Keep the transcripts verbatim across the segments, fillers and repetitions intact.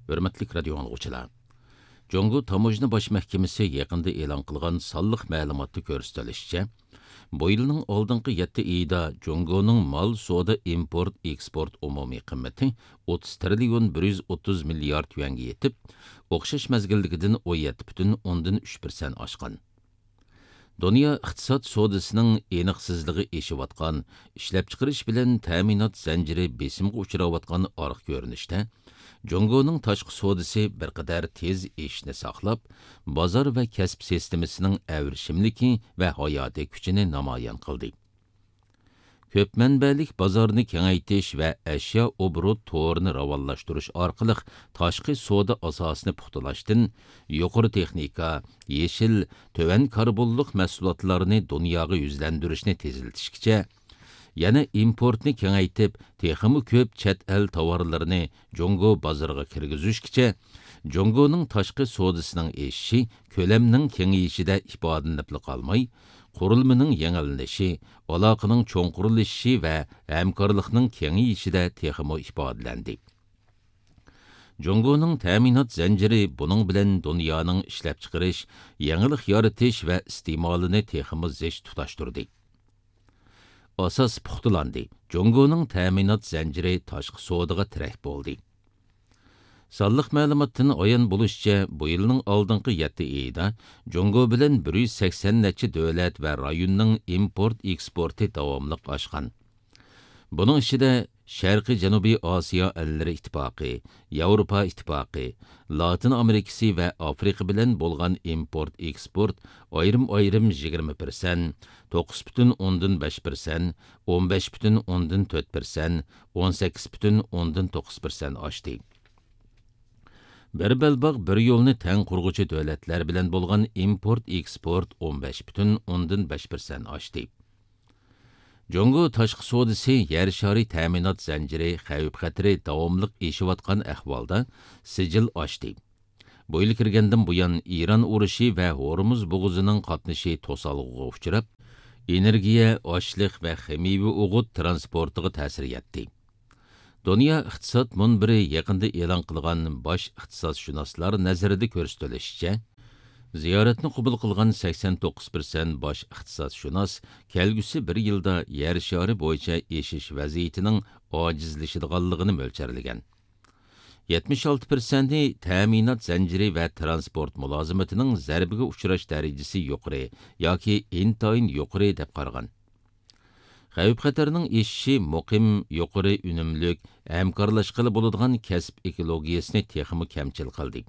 ھۆرمەتلىك رادىيو ئاڭلىغۇچىلار! جۇڭگو تاموژنا باش مەھكىمىسى يېقىندا ئېلان قىلغان سانلىق مەلۇماتتا كۆرسىتىلىشىچە، بۇ يىلنىڭ ئالدىنقى يەتتە ئېيىدا جۇڭگونىڭ مال سودا ئىمپورت ئېكسپورت ئومۇمىي قىممىتى ئوتتۇز تىرىليون بىر يۈز ئوتتۇز مىليارد يۈەنگە يېتىپ، ئوخشاش مەزگىلدىكىدىن ئون يەتتە پۈتۈن ئوندىن ئۈچ پىرسەنت ئاشقان. دۇنيا ئىقتىساد سودىسىنىڭ ئېنىقسىزلىقى ئېشىۋاتقان، ئىشلەپچىقىرىش بىلەن تەمىنات زەنجىرى بېسىمغا ئۇچراۋاتقان ئارقا كۆرۈنۈشتە، جۇڭگونىڭ تاشقى سودىسى بىر قەدەر تېز ئېشىشنى ساقلاپ، بازار ۋە كەسىپ سىستېمىسىنىڭ ئەۋرىشىملىكى ۋە ھاياتىي كۈچىنى نامايان قىلدى. كۆپ مەنبەلىك بازارنى كېڭەيتىش ۋە ئەشيا ئوبوروت تورىنى راۋانلاشتۇرۇش ئارقىلىق تاشقى سودا ئاساسىنى پۇختىلاشتىن، يۇقىرى تېخنىكا، يېشىل، تۆۋەن كاربونلۇق مەھسۇلاتلارنى دۇنياغا يۈزلەندۈرۈشنى تېزلىتىشكىچە، يەنە ئىمپورتنى كېڭەيتىپ، تېخىمۇ كۆپ چەت ئەل تاۋارلىرىنى جۇڭگو بازىرىغا كىرگۈزۈشكىچە، جۇڭگونىڭ تاشقى سودىسىنىڭ ئېشىشى كۆلەمنىڭ كېڭىيىشىدە ئىپادىلىنىپلا قالماي، قۇرۇلمىنىڭ يېڭىلىنىشى، ئالاقىنىڭ چوڭقۇرلىشىشى ۋە ھەمكارلىقنىڭ كېڭىيىشىدە تېخىمۇ ئىپادىلەندى. جۇڭگونىڭ تەمىنات زەنجىرى بۇنىڭ بىلەن دۇنيانىڭ ئىشلەپچىقىرىش، يېڭىلىق يارىتىش ۋە ئىستېمالىنى تېخىمۇ زىچ تۇتاشتۇردى. ئاساس پۇختىلاندى. جۇڭگونىڭ تەمىنات زەنجىرى تاشقى سودىغا تىرەك بولدى. سانلىق مەلۇماتتىن ئايان بولۇشىچە، بۇ يىلنىڭ ئالدىنقى يەتتە ئېيىدا جۇڭگو بىلەن بىر يۈز سەكسەن نەچچە دۆلەت ۋە رايوننىڭ ئىمپورت ئېكسپورتى داۋاملىق ئاشقان. بۇنىڭ ئىچىدە شەرقىي جەنۇبىي ئاسىيا ئەللىرى ئىتتىپاقى، ياۋروپا ئىتتىپاقى، لاتىن ئامېرىكىسى ۋە ئافرىقا بىلەن بولغان ئىمپورت ئېكسپورت ئايرىم ئايرىم يىگىرمە پىرسەنت، توققۇز پۈتۈن ئوندىن بەش پىرسەنت، ئون بەش پۈتۈن ئوندىن تۆت پىرسەنت، ئون سەككىز پۈتۈن ئوندىن توققۇز پىرسەنت ئاشتى. بىر بەلباغ، بىر يولنى تەڭ قۇرغۇچى دۆلەتلەر بىلەن بولغان ئىمپورت ئېكسپورت ئون بەش پۈتۈن ئوندىن بەش پىرسەنت ئاشتى. جۇڭگو تاشقى سودىسى يەر شارى تەمىنات زەنجىرى خەۋپ خەتىرى داۋاملىق ئېشىۋاتقان ئەھۋالدا سىجىل ئاشتى. بۇ يىل كىرگەندىن بۇيان، ئىران ئۇرۇشى ۋە ھورمۇز بوغۇزىنىڭ قاتنىشى توسالغۇغا ئۇچراپ، ئېنېرگىيە، ئاشلىق ۋە خىمىيەۋى ئوغۇت تىرانسپورتىغا تەسىر يەتتى. دۇنيا ئىقتىساد مۇنبىرى يېقىندا ئېلان قىلغان باش ئىقتىسادشۇناسلار نەزىرىدە كۆرسىتىلىشىچە، زىيارەتنى قوبۇل قىلغان سەكسەن توققۇز پىرسەنت باش ئىقتىسادشۇناس كەلگۈسى بىر يىلدا يەر شارى بويىچە ئېشىش ۋەزىيىتىنىڭ ئاجىزلىشىدىغانلىقىنى مۆلچەرلىگەن. يەتمىش ئالتە پىرسەنتى تەمىنات زەنجىرى ۋە تىرانسپورت مۇلازىمىتىنىڭ زەربىگە ئۇچراش دەرىجىسى يۇقىرى ياكى ئىنتايىن يۇقىرى دەپ قارىغان. خەۋپ خەتەرنىڭ ئېشىشى مۇقىم، يۇقىرى ئۈنۈملۈك، ھەمكارلاشقىلى بولىدىغان كەسىپ ئېكولوگىيەسىنى تېخىمۇ كەمچىل قىلدى.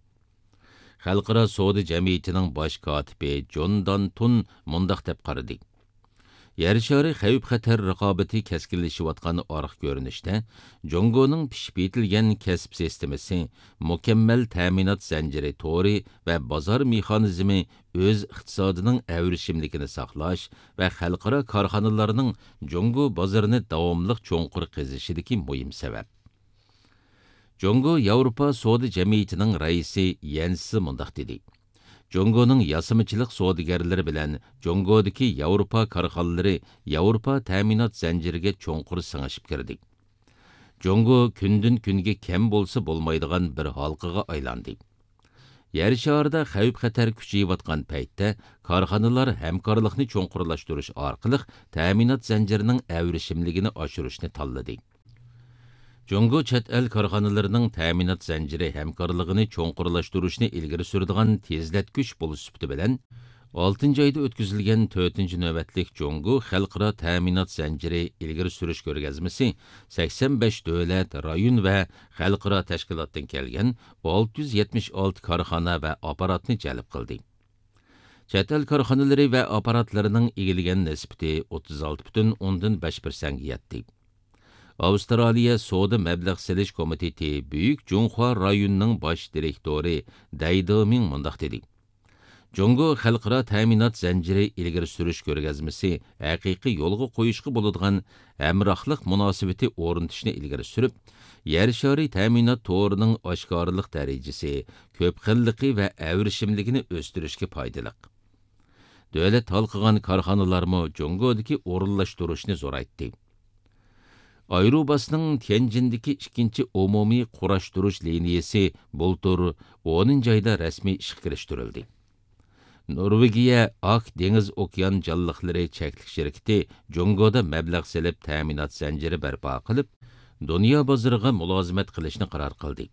خەلقئارا سودا جەمئىيىتىنىڭ باش كاتىپى جون دانتون مۇنداق دەپ قارىدى: يەر شارى خەۋپ خەتەر رىقابىتى كەسكىنلىشىۋاتقان ئارقا كۆرۈنۈشتە، جۇڭگونىڭ پىشىپ يېتىلگەن كەسىپ سىستېمىسى، مۇكەممەل تەمىنات زەنجىرى تورى ۋە بازار مېخانىزمى ئۆز ئىقتىسادىنىڭ ئەۋرىشىملىكىنى ساقلاش ۋە خەلقئارا كارخانىلارنىڭ جۇڭگو بازىرىنى داۋاملىق چوڭقۇر قېزىشىدىكى مۇھىم سەۋەب. جۇڭگو ياۋروپا سودا جەمئىيىتىنىڭ رەئىسى يەنس مۇنداق دېدى: جۇڭگونىڭ ياسىمىچىلىق سودىگەرلىرى بىلەن جۇڭگودىكى ياۋروپا كارخانىلىرى ياۋروپا تەمىنات زەنجىرىگە چوڭقۇر سىڭىشىپ كىردى. جۇڭگو كۈندىن كۈنگە كەم بولسا بولمايدىغان بىر ھالقىغا ئايلاندى. يەر شارىدا خەۋپ خەتەر كۈچىيىۋاتقان پەيتتە، كارخانىلار ھەمكارلىقنى چوڭقۇرلاشتۇرۇش ئارقىلىق تەمىنات زەنجىرىنىڭ ئەۋرىشىملىكىنى ئاشۇرۇشنى تاللىدى. جۇڭگو چەت ئەل كارخانىلىرىنىڭ تەمىنات زەنجىرى ھەمكارلىقىنى چوڭقۇرلاشتۇرۇشنى ئىلگىرى سۈرىدىغان تېزلەتكۈچ بولۇش سۈپىتى بىلەن، ئالتىنچى ئايدا ئۆتكۈزۈلگەن تۆتىنچى نۆۋەتلىك جۇڭگو خەلقئارا تەمىنات زەنجىرى ئىلگىرى سۈرۈش كۆرگەزمىسى سەكسەن بەش دۆلەت، رايون ۋە خەلقئارا تەشكىلاتتىن كەلگەن ئالتە يۈز يەتمىش ئالتە كارخانا ۋە ئاپپاراتنى جەلپ قىلدى. چەت ئەل كارخانىلىرى ۋە ئاپپاراتلىرىنىڭ ئىگىلىگەن نىسبىتى ئوتتۇز ئالتە پۈتۈن ئوندىن بەش پىرسەنتكە يەتتى. ئاۋسترالىيە سودا مەبلەغ سېلىش كومىتېتى بۈيۈك جۇڭخۇا رايونىنىڭ باش دىرېكتورى دەي دېمىڭ مۇنداق دېدى: جۇڭگو خەلقئارا تەمىنات زەنجىرى ئىلگىرى سۈرۈش كۆرگەزمىسى ھەقىقىي يولغا قويۇشقا بولىدىغان ھەمراھلىق مۇناسىۋىتى ئورنىتىشنى ئىلگىرى سۈرۈپ، يەر شارى تەمىنات تورىنىڭ ئاشكارىلىق دەرىجىسى، كۆپ خىللىقى ۋە ئەۋرىشىملىكىنى ئۆستۈرۈشكە پايدىلىق. دۆلەت ھالقىغان كارخانىلارمۇ جۇڭگودىكى ئورۇنلاشتۇرۇشنى زورايتتى. ئايروباسنىڭ تيەنجىندىكى ئىككىنچى ئومۇمىي قۇراشتۇرۇش لىنىيىسى بۇلتۇر ئونىنچى ئايدا رەسمىي ئىشقا كىرىشتۈرۈلدى. نورۋېگىيە ئاك دېڭىز ئوكيان جانلىقلىرى چەكلىك شىركىتى جۇڭگودا مەبلەغ سېلىپ تەمىنات زەنجىرى بەرپا قىلىپ، دۇنيا بازىرىغا مۇلازىمەت قىلىشنى قارار قىلدى.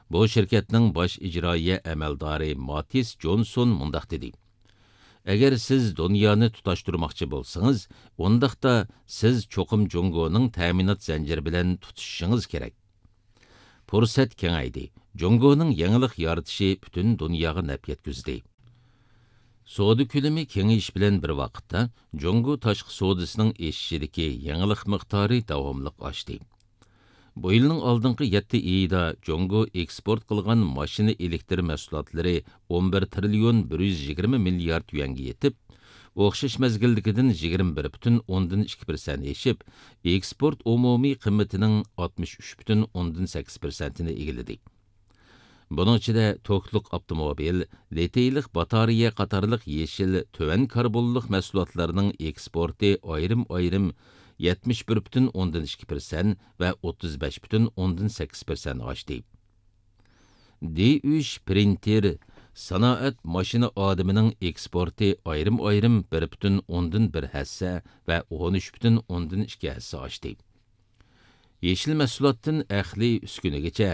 بۇ شىركەتنىڭ باش ئىجرائىيە ئەمەلدارى ماتىس جونسون مۇنداق دېدى: «ئەگەر سىز دۇنيانى تۇتاشتۇرماقچى بولسىڭىز، ئۇنداقتا سىز چوقۇم جۇڭگونىڭ تەمىنات زەنجىرى بىلەن تۇتىشىشىڭىز كېرەك.» پۇرسەت كېڭەيدى. جۇڭگونىڭ يېڭىلىق يارىتىشى پۈتۈن دۇنياغا نەپ يەتكۈزدى. سودا كۆلىمى كېڭىيىش بىلەن بىر ۋاقىتتا، جۇڭگو تاشقى سودىسىنىڭ ئېشىشىدىكى يېڭىلىق مىقدارى داۋاملىق ئاشتى. بۇ يىلنىڭ ئالدىنقى يەتتە ئېيىدا جۇڭگو ئېكسپورت قىلغان ماشىنا ئېلېكتر مەھسۇلاتلىرى ئون بىر تىرىليون بىر يۈز يىگىرمە مىليارد يۈەنگە يېتىپ، ئوخشاش مەزگىلدىكىدىن يىگىرمە بىر پۈتۈن ئوندىن ئىككى پىرسەنت ئېشىپ، ئېكسپورت ئومۇمىي قىممىتىنىڭ ئاتمىش ئۈچ پۈتۈن ئوندىن سەككىز پىرسەنتىنى ئىگىلىدى. بۇنىڭ ئىچىدە توكلۇق ئاپتوموبىل، لىتىيلىق باتارېيە قاتارلىق يېشىل تۆۋەن كاربونلۇق مەھسۇلاتلارنىڭ ئېكسپورتى ئايرىم-ئايرىم يەتمىش بىر پۈتۈن ئوندىن ئىككى پىرسەنت ۋە ئوتتۇز بەش پۈتۈن ئوندىن سەككىز پىرسەنت ئاشتى. دى ئۈچ پرىنتېر، سانائەت ماشىنا ئادىمىنىڭ ئېكسپورتى ئايرىم-ئايرىم بىر پۈتۈن ئوندىن بىر ھەسسە ۋە ئون ئۈچ پۈتۈن ئوندىن ئىككى ھەسسە ئاشتى. يېشىل مەھسۇلاتتىن ئەقلىي ئۈسكۈنىگىچە،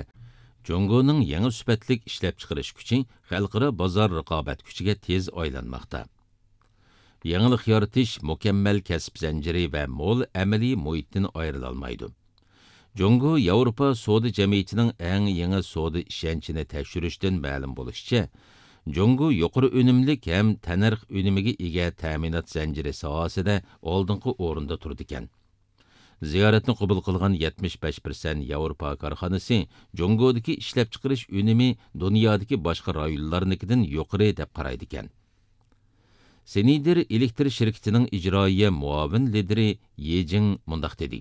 جۇڭگونىڭ يېڭى سۈپەتلىك ئىشلەپچىقىرىش كۈچى خەلقئارا بازار رىقابەت كۈچىگە تېز ئايلانماقتا. يېڭىلىق يارىتىش مۇكەممەل كەسىپ زەنجىرى ۋە مول ئەمەلىي مۇھىتتىن ئايرىلالمايدۇ. جۇڭگو ياۋروپا سودا جەمئىيىتىنىڭ ئەڭ يېڭى سودا ئىشەنچىنى تەكشۈرۈشتىن مەلۇم بولۇشىچە، جۇڭگو يۇقىرى ئۈنۈملۈك ھەم تەننەرخ ئۈنۈمىگە ئىگە تەمىنات زەنجىرى ساھەسىدە ئالدىنقى ئورۇندا تۇرىدىكەن. زىيارەتنى قوبۇل قىلغان يەتمىش بەش پىرسەنت ياۋروپا كارخانىسى جۇڭگودىكى ئىشلەپچىقىرىش ئۈنۈمى دۇنيادىكى باشقا رايونلارنىڭكىدىن يۇقىرى دەپ قارايدىكەن. سىنىدېر ئېلېكتر شىركىتىنىڭ ئىجرائىيە مۇئاۋىن لىدىرى يې جىڭ مۇنداق دېدى: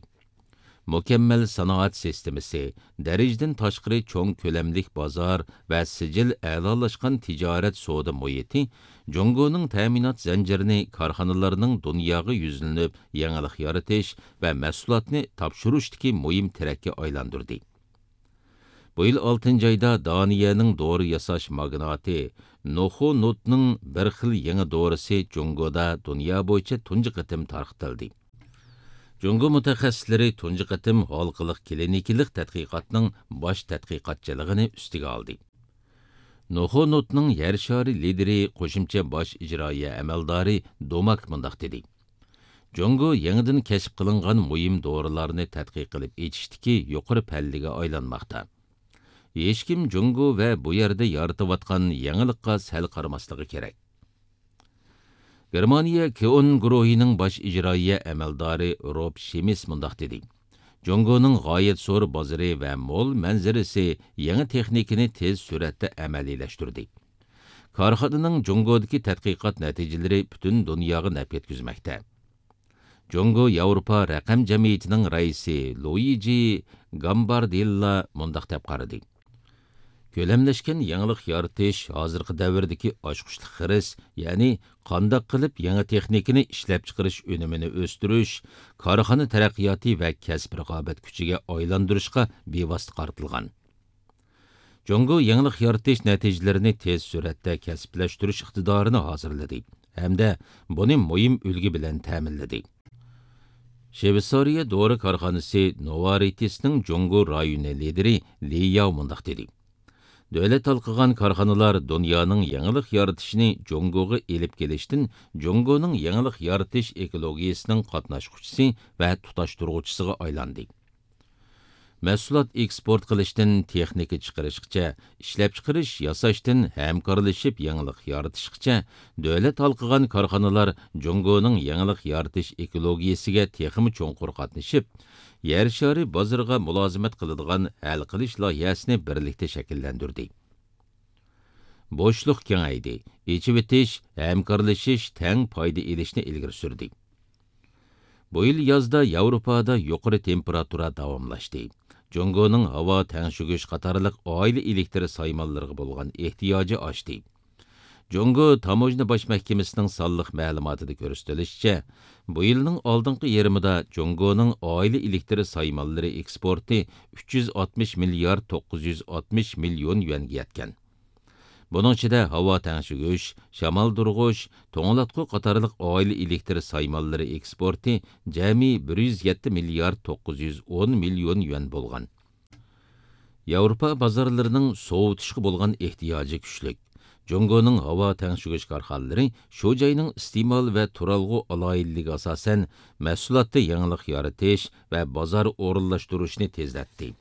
«مۇكەممەل سانائەت سىستېمىسى، دەرىجىدىن تاشقىرى چوڭ كۆلەملىك بازار ۋە سىجىل ئەلالاشقان تىجارەت سودا مۇھىتى جۇڭگونىڭ تەمىنات زەنجىرىنى كارخانىلارنىڭ دۇنياغا يۈزلىنىپ يېڭىلىق يارىتىش ۋە مەھسۇلاتنى تاپشۇرۇشتىكى مۇھىم تىرەككە ئايلاندۇردى.» بۇ يىل ئالتىنچى ئايدا دانىيەنىڭ دورا ياساش ماگناتى نوخو نوتنىڭ بىر خىل يېڭى دورىسى جۇڭگودا دۇنيا بويىچە تۇنجى قېتىم تارقىتىلدى. جۇڭگو مۇتەخەسسىسلىرى تۇنجى قېتىم ھالقىلىق كلىنىكىلىق تەتقىقاتنىڭ باش تەتقىقاتچىلىقىنى ئۈستىگە ئالدى. نوخو نوتنىڭ يەر شارى لىدىرى، قوشۇمچە باش ئىجرائىيە ئەمەلدارى دوماك مۇنداق دېدى: «جۇڭگو يېڭىدىن كەشىپ قىلىنغان مۇھىم دورىلارنى تەتقىق قىلىپ ئېچىشتىكى يۇقىرى پەللىگە ئايلانماقتا. ھېچكىم جۇڭگو ۋە بۇ يەردە يارىتىۋاتقان يېڭىلىققا سەل قارىماسلىقى كېرەك.» گېرمانىيە كېئون گۇرۇھىنىڭ باش ئىجرائىيە ئەمەلدارى روب شىمىس مۇنداق دېدى: «جۇڭگونىڭ غايەت زور بازىرى ۋە مول مەنزىرىسى يېڭى تېخنىكىنى تېز سۈرئەتتە ئەمەلىيلەشتۈردى. كارخانىنىڭ جۇڭگودىكى تەتقىقات نەتىجىلىرى پۈتۈن دۇنياغا نەپ يەتكۈزمەكتە.» جۇڭگو ياۋروپا رەقەم جەمئىيىتىنىڭ رەئىسى لۇيىجى گامباردېللا مۇنداق دەپ قارىدى: «كۆلەملەشكەن يېڭىلىق يارىتىش ھازىرقى دەۋردىكى ئاچقۇچلۇق خىرىس، يەنى قانداق قىلىپ يېڭى تېخنىكىنى ئىشلەپچىقىرىش ئۈنۈمىنى ئۆستۈرۈش، كارخانا تەرەققىياتى ۋە كەسىپ رىقابەت كۈچىگە ئايلاندۇرۇشقا بىۋاسىتە قارىتىلغان.» جۇڭگو يېڭىلىق يارىتىش نەتىجىلىرىنى تېز سۈرئەتتە كەسىپلەشتۈرۈش ئىقتىدارىنى ھازىرلىدى ھەمدە بۇنى مۇھىم ئۈلگە بىلەن تەمىنلىدى. شۋېتسارىيە دورا كارخانىسى نوۋارتىسنىڭ جۇڭگو رايونى لىدىرى لى ياۋ مۇنداق دېدى: «دۆلەت ھالقىغان كارخانىلار دۇنيانىڭ يېڭىلىق يارىتىشىنى جۇڭگوغا ئېلىپ كېلىشتىن جۇڭگونىڭ يېڭىلىق يارىتىش ئېكولوگىيىسىنىڭ قاتناشقۇچىسى ۋە تۇتاشتۇرغۇچىسىغا ئايلاندى.» مەھسۇلات ئېكسپورت قىلىشتىن تېخنىكا چىقىرىشقىچە، ئىشلەپچىقىرىش، ياساشتىن ھەمكارلىشىپ يېڭىلىق يارىتىشقىچە، دۆلەت ھالقىغان كارخانىلار جۇڭگونىڭ يېڭىلىق يارىتىش ئېكولوگىيىسىگە تېخىمۇ چوڭقۇر قاتنىشىپ، يەر شارى بازىرىغا مۇلازىمەت قىلىدىغان ھەل قىلىش لايىھەسىنى بىرلىكتە شەكىللەندۈردى. بوشلۇق كېڭەيدى، ئېچىۋېتىش، ھەمكارلىشىش، تەڭ پايدا ئېلىشنى ئىلگىرى سۈردى. بۇ يىل يازدا ياۋروپادا يۇقىرى تېمپېراتۇرا داۋاملاشتى. جۇڭگونىڭ ھاۋا تەڭشىگۈچ قاتارلىق ئائىلە ئېلېكتر سايمانلىرىغا بولغان ئېھتىياجى ئاشتى. جۇڭگو تاموژنا باش مەھكىمىسىنىڭ سانلىق مەلۇماتىدا كۆرسىتىلىشىچە، بۇ يىلنىڭ ئالدىنقى يېرىمىدا جۇڭگونىڭ ئائىلە ئېلېكتر سايمانلىرى ئېكسپورتى ئۈچ يۈز ئاتمىش مىليارد توققۇز يۈز ئاتمىش مىليون يۈەنگە يەتكەن. بۇنىڭ ئىچىدە ھاۋا تەڭشىگۈچ، شامالدۇرغۇچ، توڭلاتقۇ قاتارلىق ئائىلە ئېلېكتر سايمانلىرى ئېكسپورتى جەمئىي بىر يۈز يەتتە مىليارد توققۇز يۈز ئون مىليون يۈەن بولغان. ياۋروپا بازارلىرىنىڭ سوۋۇتۇشقا بولغان ئېھتىياجى كۈچلۈك. جۇڭگونىڭ ھاۋا تەڭشىگۈچ كارخانىلىرى شۇ جاينىڭ ئىستېمال ۋە تۇرالغۇ ئالاھىدىلىكىگە ئاساسەن، مەھسۇلاتتا يېڭىلىق يارىتىش ۋە بازار ئورۇنلاشتۇرۇشنى تېزلەتتى.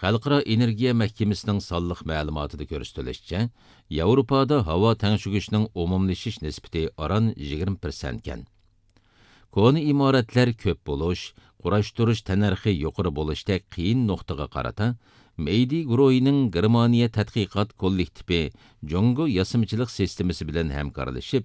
خەلقئارا ئېنېرگىيە مەھكىمىسىنىڭ سانلىق مەلۇماتىدا كۆرسىتىلىشىچە، ياۋروپادا ھاۋا تەڭشىگۈچنىڭ ئومۇملىشىش نىسبىتى ئاران يىگىرمە پىرسەنتكەن. كونا ئىمارەتلەر كۆپ بولۇش، قۇراشتۇرۇش تەننەرخى يۇقىرى بولۇشتەك قىيىن نۇقتىغا قارىتا، مېيدى گۇرۇھىنىڭ گېرمانىيە تەتقىقات كوللېكتىپى جۇڭگو ياسىمىچىلىق سىستېمىسى بىلەن ھەمكارلىشىپ،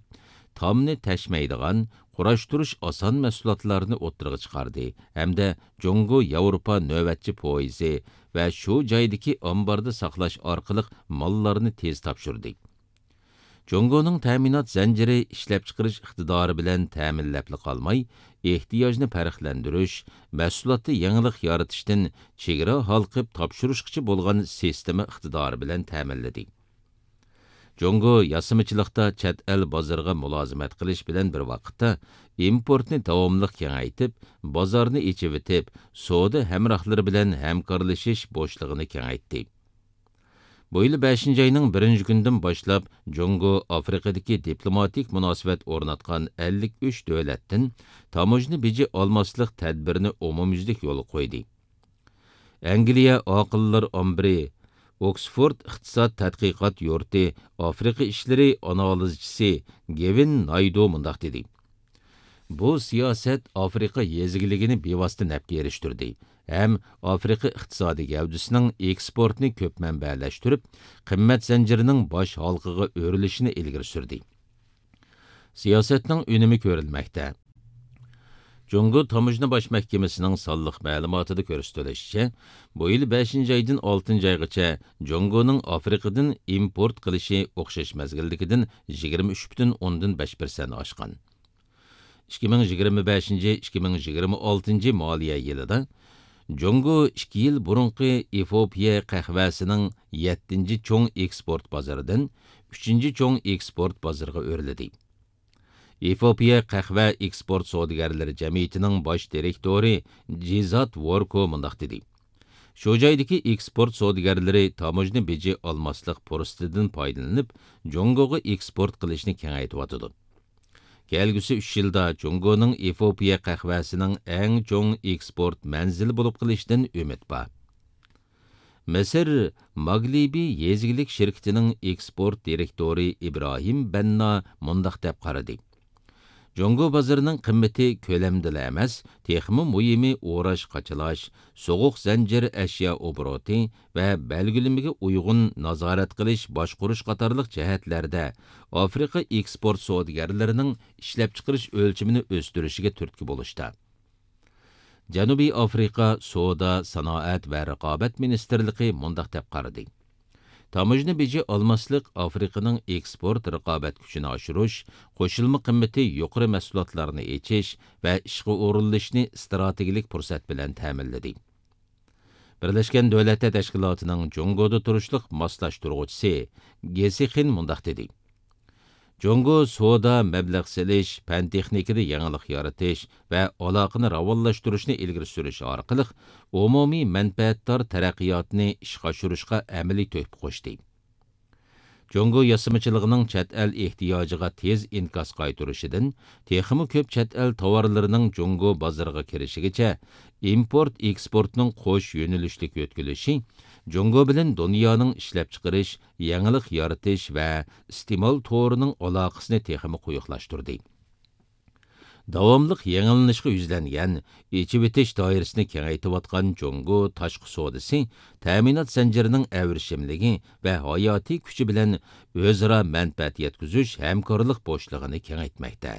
تامنى تەشمەيدىغان، قۇراشتۇرۇش ئاسان مەھسۇلاتلارنى ئوتتۇرىغا چىقاردى ھەمدە جۇڭگو ياۋروپا نۆۋەتچى پويىزى ۋە شۇ جايدىكى ئامباردا ساقلاش ئارقىلىق ماللارنى تېز تاپشۇردى. جۇڭگونىڭ تەمىنات زەنجىرى ئىشلەپچىقىرىش ئىقتىدارى بىلەن تەمىنلەپلا قالماي، ئېھتىياجنى پەرقلەندۈرۈش، مەھسۇلاتتا يېڭىلىق يارىتىشتىن چېگرا ھالقىپ تاپشۇرۇشقىچە بولغان سىستېما ئىقتىدارى بىلەن تەمىنلىدى. جۇڭگو ياسىمىچىلىقتا چەت ئەل بازىرىغا مۇلازىمەت قىلىش بىلەن بىر ۋاقىتتا، ئىمپورتنى داۋاملىق كېڭەيتىپ، بازارنى ئېچىۋېتىپ، سودا ھەمراھلىرى بىلەن ھەمكارلىشىش بوشلۇقىنى كېڭەيتتى. بۇ يىل بەشىنچى ئاينىڭ بىرىنچى كۈنىدىن باشلاپ، جۇڭگو ئافرىقىدىكى دىپلوماتىك مۇناسىۋەت ئورناتقان ئەللىك ئۈچ دۆلەتتىن تاموژنا بېجى ئالماسلىق تەدبىرىنى ئومۇميۈزلۈك يولغا قويدى. ئەنگلىيە ئاقىللار ئامبىرى، ئوكسفورد ئىقتىساد تەتقىقات يۇرتى ئافرىقا ئىشلىرى ئانالىزچىسى گېۋىن نايدو مۇنداق دېدى: بۇ سىياسەت ئافرىقا يېزا ئىگىلىكىنى بىۋاسىتە نەپكە ئېرىشتۈردى ھەم ئافرىقا ئىقتىسادىي گەۋدىسىنىڭ ئېكسپورتنى كۆپ مەنبەلەشتۈرۈپ، قىممەت زەنجىرىنىڭ باش ھالقىغا ئۆرۈلۈشىنى ئىلگىرى سۈردى. سىياسەتنىڭ ئۈنۈمى كۆرۈلمەكتە. جۇڭگو تاموژنا باش مەھكىمىسىنىڭ سانلىق مەلۇماتىدا كۆرسىتىلىشىچە، بۇ يىل بەشىنچى ئايدىن ئالتىنچى ئايغىچە جۇڭگونىڭ ئافرىقىدىن ئىمپورت قىلىشى ئوخشاش مەزگىلدىكىدىن يىگىرمە ئۈچ پۈتۈن ئوندىن بەش پىرسەنت ئاشقان. ئىككى مىڭ يىگىرمە بەشىنچى، ئىككى مىڭ يىگىرمە ئالتىنچى مالىيە يىلىدا جۇڭگو ئىككى يىل بۇرۇنقى ئېفىئوپىيە قەھۋەسىنىڭ يەتتىنچى چوڭ ئېكسپورت بازىرىدىن ئۈچىنچى چوڭ ئېكسپورت بازىرىغا ئۆرلىدى. ئېفىئوپىيە قەھۋە ئېكسپورت سودىگەرلىرى جەمئىيىتىنىڭ باش دىرېكتورى جىزات ۋوركو مۇنداق دېدى: شۇ جايدىكى ئېكسپورت سودىگەرلىرى تاموژنا بېجى ئالماسلىق پۇرسىتىدىن پايدىلىنىپ، جۇڭگوغا ئېكسپورت قىلىشنى كېڭەيتىۋاتىدۇ. كەلگۈسى ئۈچ يىلدا جۇڭگونىڭ ئېفىئوپىيە قەھۋەسىنىڭ ئەڭ چوڭ ئېكسپورت مەنزىلى بولۇپ قېلىشىدىن ئۈمىد بار. مىسىر ماگلىبى يېزا ئىگىلىك شىركىتىنىڭ ئېكسپورت دىرېكتورى ئىبراھىم بەننا مۇنداق دەپ قارىدى: جۇڭگو بازىرىنىڭ قىممىتى كۆلەمدىلا ئەمەس، تېخىمۇ مۇھىمى ئوراش قاچىلاش، سوغۇق زەنجىر ئەشيا ئوبوروتى ۋە بەلگىلىمىگە ئۇيغۇن نازارەت قىلىش، باشقۇرۇش قاتارلىق جەھەتلەردە ئافرىقا ئېكسپورت سودىگەرلىرىنىڭ ئىشلەپچىقىرىش ئۆلچىمىنى ئۆستۈرۈشىگە تۈرتكە بولۇشتا. جەنۇبىي ئافرىقا سودا، سانائەت ۋە رىقابەت مىنىستىرلىقى مۇنداق دەپ قارىدى: تاموژنا بېجى ئالماسلىق ئافرىقىنىڭ ئېكسپورت رىقابەت كۈچىنى ئاشۇرۇش، قوشۇلما قىممىتى يۇقىرى مەھسۇلاتلارنى ئېچىش ۋە ئىشقا ئورۇنلىشىشنى ئىستراتېگىيەلىك پۇرسەت بىلەن تەمىنلىدى. بىرلەشكەن دۆلەتلەر تەشكىلاتىنىڭ جۇڭگودا تۇرۇشلۇق ماسلاشتۇرغۇچىسى گېسى خىن مۇنداق دېدى: جۇڭگو سودا، مەبلەغ سېلىش، پەن تېخنىكىدا يېڭىلىق يارىتىش ۋە ئالاقىنى راۋانلاشتۇرۇشنى ئىلگىرى سۈرۈش ئارقىلىق ئومۇمىي مەنپەئەتدار تەرەققىياتنى ئىشقا ئاشۇرۇشقا ئەمەلىي تۆھپە قوشتى. جۇڭگو ياسىمىچىلىقىنىڭ چەت ئەل ئېھتىياجىغا تېز ئىنكاس قايتۇرۇشىدىن، تېخىمۇ كۆپ چەت ئەل تاۋارلىرىنىڭ جۇڭگو بازىرىغا كىرىشىگىچە ئىمپورت ئېكسپورتنىڭ قوش يۆنىلىشلىك يۆتكىلىشى جۇڭگو بىلەن دۇنيانىڭ ئىشلەپچىقىرىش، يېڭىلىق يارىتىش ۋە ئىستېمال تورىنىڭ ئالاقىسىنى تېخىمۇ قويۇقلاشتۇردى. داۋاملىق يېڭىلىنىشقا يۈزلەنگەن، ئېچىۋېتىش دائىرىسىنى كېڭەيتىۋاتقان جۇڭگو تاشقى سودىسى تەمىنات زەنجىرىنىڭ ئەۋرىشىملىكى ۋە ھاياتىي كۈچى بىلەن ئۆزئارا مەنپەئەت يەتكۈزۈش ھەمكارلىق بوشلۇقىنى كېڭەيتمەكتە.